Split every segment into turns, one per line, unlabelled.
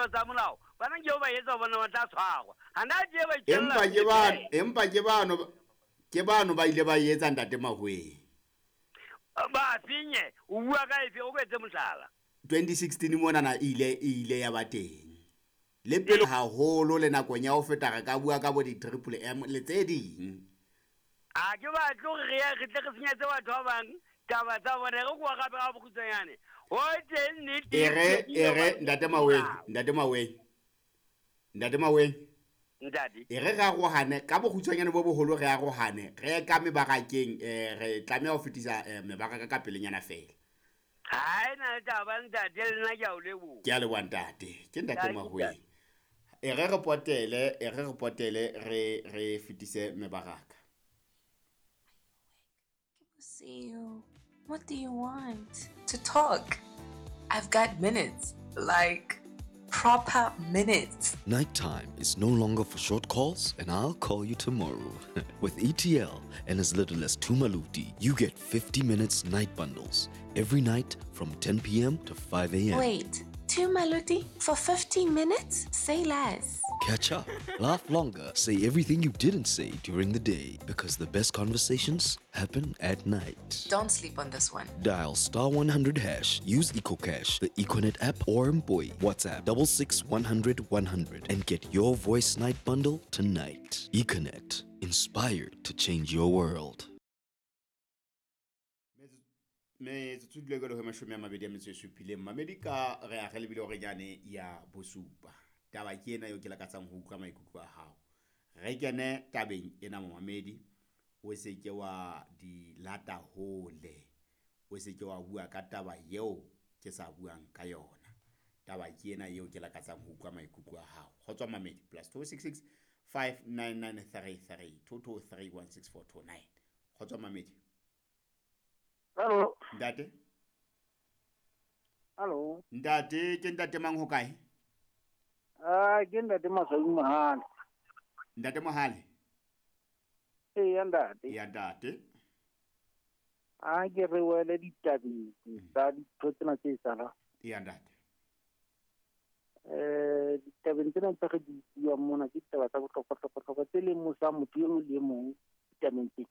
tlolo tsa molao bana ke ba etsa bona ba tla tshwarwa hana je ba itjella.
Empa ke ba empa ke bano ke bano ba ile ba etsa ntate Mahweng.
Ba finye o bua ka efe o etse mohlala?
2016 mona na ile ya ba teng le pele haholo le nakong ya ho feta re ka bua ka bo di triple M le tse ding.
A ke batle hore re tle re senyetse batho ba bang taba tsa bona re kwa gape ga bokhutsanyane ho teng nnete.
Ere ntate Maweng, ntate Maweng, ntate Maweng,
ntate
e re arohane ka bokgutshwanyane bo boholo, re arohane re ye ka mebarakeng, re tlameha ho fetisa mebaraka ka pelenyana fela.
Ha e na le taba ntate, le nna ke a o leboha.
Ke a leboha ntate, ke ntate Mahweng. E re potele, e re potele re fetise mebaraka.
See you. What do you want? To talk. I've got minutes. Like proper minutes.
Nighttime is no longer for short calls, and I'll call you tomorrow. With ETL and as little as 2 maluti, you get 50 minutes night bundles every night from 10 p.m. to 5 a.m.
Wait, 2 maluti for 50 minutes? Say less.
Catch up, laugh longer, say everything you didn't say during the day, because the best conversations happen at night.
Don't sleep on this one.
Dial *100#, use EcoCash, the Econet app, or Mpoi. WhatsApp 66 100 100 and get your voice night bundle tonight. Econet, inspired to change your world.
Metsotso dule ka 27 mamedi ka re a re lebile hore nyane ya bosupa. Taba ke ena eo ke lakatsang ho utlwa maikutlo a hao. Re kene tabeng ena momamedi, o se ke wa di lata hole, o se ke wa bua ka taba eo ke sa buang ka yona. Taba ke ena eo ke lakatsang ho utlwa maikutlo a hao. Kgotso mamedi, +266 59933 22316429. Kgotso mamedi.
Hello.
Ntate.
Hello.
Ntate, ke ntate mang ho kae?
Ah, ke ntate Maswai Mohale.
Ntate Mohale.
Eya ntate.
Eya ntate.
A ke re wele ditabeng tsa dintho tsena tse etsahalang.
Eya ntate.
Ditabeng tsena tse re di buang mona ke ditaba tsa bohlokwa-hlokwa tse lemosang motho e mong le e mong ditabeng tsena.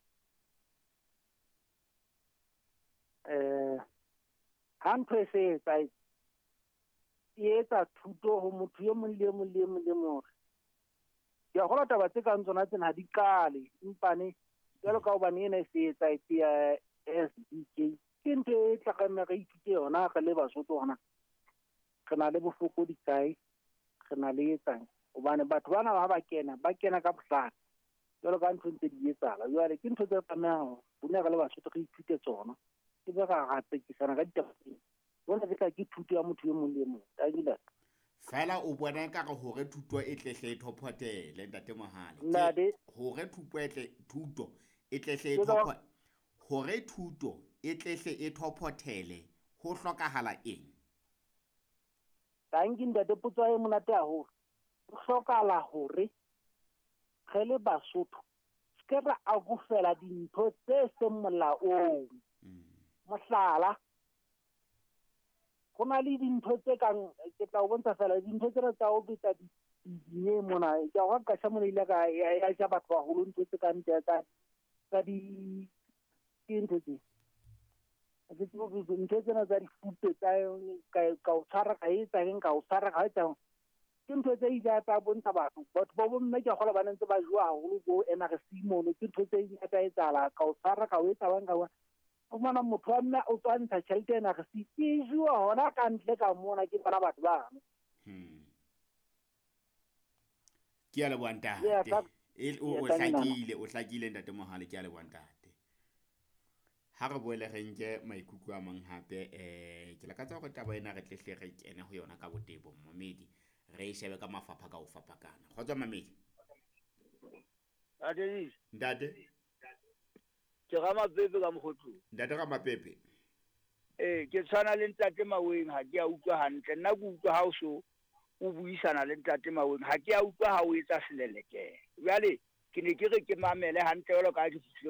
Ha ntho e se etsahetse, e etsa thuto ho motho e mong le e mong le e mong le mong. Ke a kgolwa taba tse kang tsona tsena ha di qale, empane jwalo ka hobane ena e se etsahetse ya SBK, ke ntho e tla tlameha re ithute yona re le Basotho hona. Re na le bofokodi kae, re na le etsang, hobane batho bana ha ba kena ka bohlale jwalo ka ntho ntse di etsahala. Jwale ke ntho tse tlamehang rona re le Basotho re ithute tsona, e be ra tsekisana ka ditaba tsena. Bona ke tla ke thuto ya motho e mong le e mong.
Fela o bona ka re hore thuto e tlehle e thophotele ntate Mohale. Hore thuto e tlehle e thophotele, hore thuto e tlehle e thophothele ho hlokahala eng?
Tanki ntate, potso e monate haholo. Ho hlokahala hore re le Basotho se ke ra akofela dintho tse seng molaong. Mohlala, ho na le dintho tse kang, ke tla o bontsha fela dintho tsena tsa ho betsa dinye mona. Ke a go qasha mona ile ka ya ja batho baholo ntho tse kang tsa di ke ntho tse. Ke tsebo ntho tsena tsa difute tsa ka o tshwara ka etsa eng, ka o tshwara ka etsa. Ke ntho tse ile tsa bontsha batho. Batho ba bomme ke a kgolwa ba ne ntse ba jowa haholo bo NRC mono. Ke ntho tse ile tsa etsahala, ka o tshwara ka o etsa bang ka o. O fumana motho wa mme o tswa ntsha tjhelete ena re se e jowa hona ka ntle ka mona ke bona batho bano.
Ke a leboha ntate. O hlakile ntate Mohale, ke a leboha ntate. Ha re boele re nke maikutlo a mang hape, ke lakatsa hore taba ena re tlehle re kene ho yona ka botebo momedi, re e shebe ka mafapha ka ho fapakana. Kgotso mamedi. Ntate.
Ke Ramapepe ka Mokgotlong.
Ntate Ramapepe.
Ke tshwana le ntate Maweng, ha ke a utlwa hantle. Nna ke utlwa ha o so o buisana le ntate Maweng, ha ke a utlwa ha o etsa selelekela. Jwale ke ne ke re ke mamele hantle jwalo ka ha ke fihlile